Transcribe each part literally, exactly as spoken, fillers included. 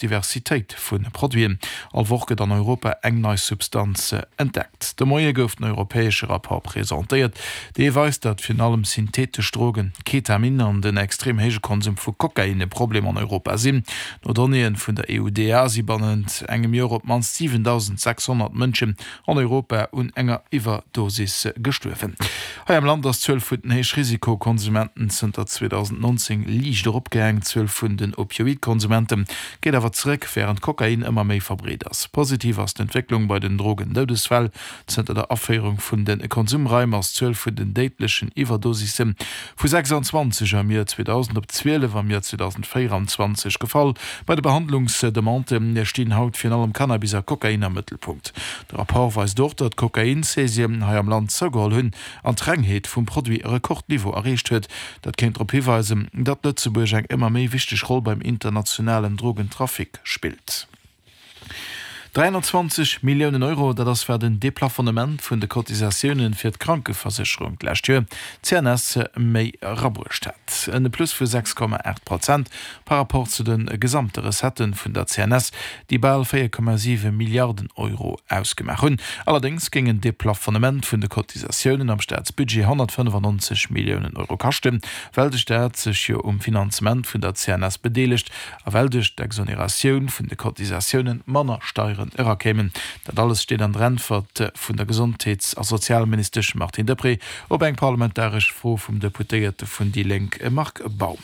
Diversitéit vu Produiten. All Woch gëtt an Europa eng nei Substanz entdeckt. De Moie gouf den europäesche Rapport presentéiert. Dee weist, datt virun allem syntheetesch Drogen, Ketamin an den extrem héije Konsum vu Kokain e Problem an Europa sinn. No Donnéeë vun der E U D A si bannent engem Joer op d'mannst siwentausendsechshonnert Mënschen an Europa un enger Iwwerdosis gestuerwen. Hei am Land ass d'Zuel vun den Héichrisikokonsumenten zënter zweedausendnonzéng liicht eropgaangen. D'Zuel vun den Opioidkonsumenten geet awer zeréck, wärend Kokain ëmmer méi verbreet ass. Positiv ass d'Entwécklung bei den Drogendoudesfäll. Zënter der Aféierung vun de Konsumraim ass d'Zuel vun den déidlechen Iwwerdosisse vu sechsanzwanzeg am Joer zweedausend op zwielef am Joer zweedausendvéieranzwanzeg gefall. Bei de Behandlungsdemandë stinn haut virun allem Cannabis a Kokain am Mëttelpunkt. De Rapport weist och, datt d'Kokain-Saisien hei am Land zougeholl hunn an d'Rengheet vum Produit e Rekordniveau erreecht huet. Dat kéint drop hiweisen, datt Lëtzebuerg eng ëmmer méi wichteg Roll beim internationalen Drogentrafic spillt. Dräihonnertzwanzeg Milliounen Euro, dat ass wat den Deplafonnement vun de Cotisatioune fir d'Krankeversécherung d'lescht Joer d'C N S méi erabruecht hat. En Plus vu sechs Komma aacht Prozent par rapport zu de gesamte Recetten vun der C N S, déi bal véier Komma siwe Milliarden Euro ausgemaach hunn. Allerdéngs géing en Deplafonnement vun de Cotisatiounen am Staatsbudget honnertfënnefannonzeg Milliounen Euro kaschten, well de Staat sech jo um Finanzement vun der C N S bedeelegt a well duerch d'Exoneratioun vun de Cotisatiounen manner Steieren erakéimen. Dat alles steet an der Äntwert vun der Gesondheets a Sozialministesch Martine Deprez op eng parlamentaresch Fro vum Deputéierte vun déi Lénk Marc Baum.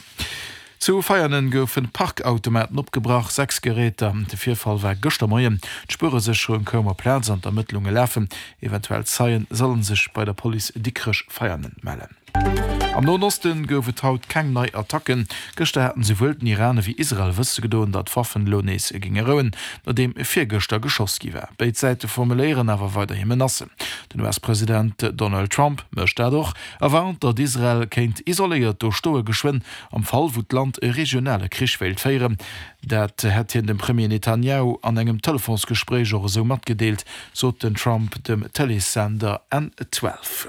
Zu Veianen goufen Parkautomaten opgebrach, sechs Geräter. De Virfall war gëschter Moien. D'Spueresécherung koum op d'Plaz an d'Ermëttlunge lafen. Eventuell Zeie sollen sech bei der Police Dikrech-Veianen mellen. Am Noen Osten gouf et haut keng nei Attacken. Gëschter haten souwuel den Iran ewéi Israel wësse gedoen, datt d'Waffen elo nees géinge rouen, nodeem virgëschter geschoss gi war. Béid Säite formuléieren awer weiderhi Menacen. Den U S-President Donald Trump mécht dat och a warnt, datt Israel kéint isoléiert do stoe geschwënn, am Fall wou d'Land e regionale Krich wéilt féieren. Dat hätt hien dem Premier Netanjahu an engem Telefonsgespréich och esou matgedeelt, sot den Trump dem Tëleessender N zwielef.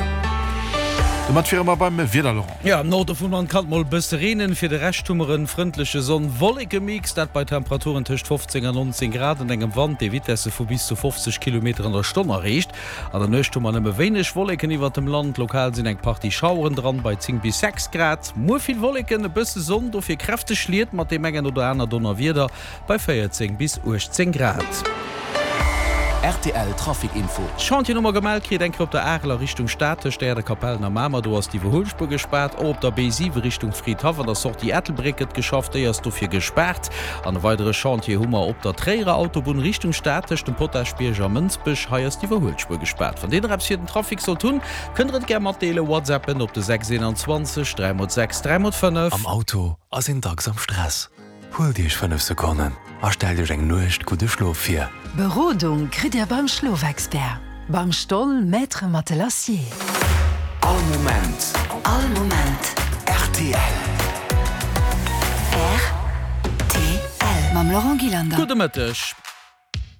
Domat wiere mer beim Wieder, Laurent. Jo, am Norde vum Land kann et mol e bësse reenen, fir de Rescht hu mer e frëndleche Sonn-Wolleke-Mix, dat bei Temperaturen tëscht fofzéng an nonzéng Grad an engem Wand, dee Vitesse vu bis zu fofzeg Kilometer an der Stonn erreecht. An der Nuecht hu mer nëmme wéineg Wolleken iwwert dem Land, lokal sinn eng Partie Schaueren dran, bei zéng bis sechs Grad. Muer vill Wolleken, e bësse Sonn, dofir kräfteg Schliet mat deem engen oder aner Donnerwieder bei véierzéng bis uechtzéng Grad. R T L Trafic Info. Chantier hu mer gemellt kritt, eng Kéier op der Arel a Richtung Stad tëscht Äerdekapellen a Mamer, do ass d'Iwwerhuelspuer gespaart. Och op der B siwe Richtung Fridhaff an der Sortie Ettelbréck gëtt geschafft, déi ass dofir gespaart. An e weidere Chantier hu mer op der Tréierer Autobunn Richtung Stad tëscht dem Potaschbierg a Mënsbech, hei ass d'Iwwerhuelspuer gespaart. Wann dir nach eppes fir den Trafic sollt hunn, kënnt der et gär matdeelen, WhatsAppen op de sechs eenanzwanzeg dräi mol sechs dräi mol fënnef. Am Auto ass een dacks am Stress. Huelt Iech fënnef Sekonnen a stellt Iech eng Nuecht gudde Schlof vir. Berodung kritt Dir beim Schlofexpert, beim Stoll Maître Matelassier. All Moment. All Moment. R T L. R T L. Mam Laurent Gillander. Gudde Mëtteg.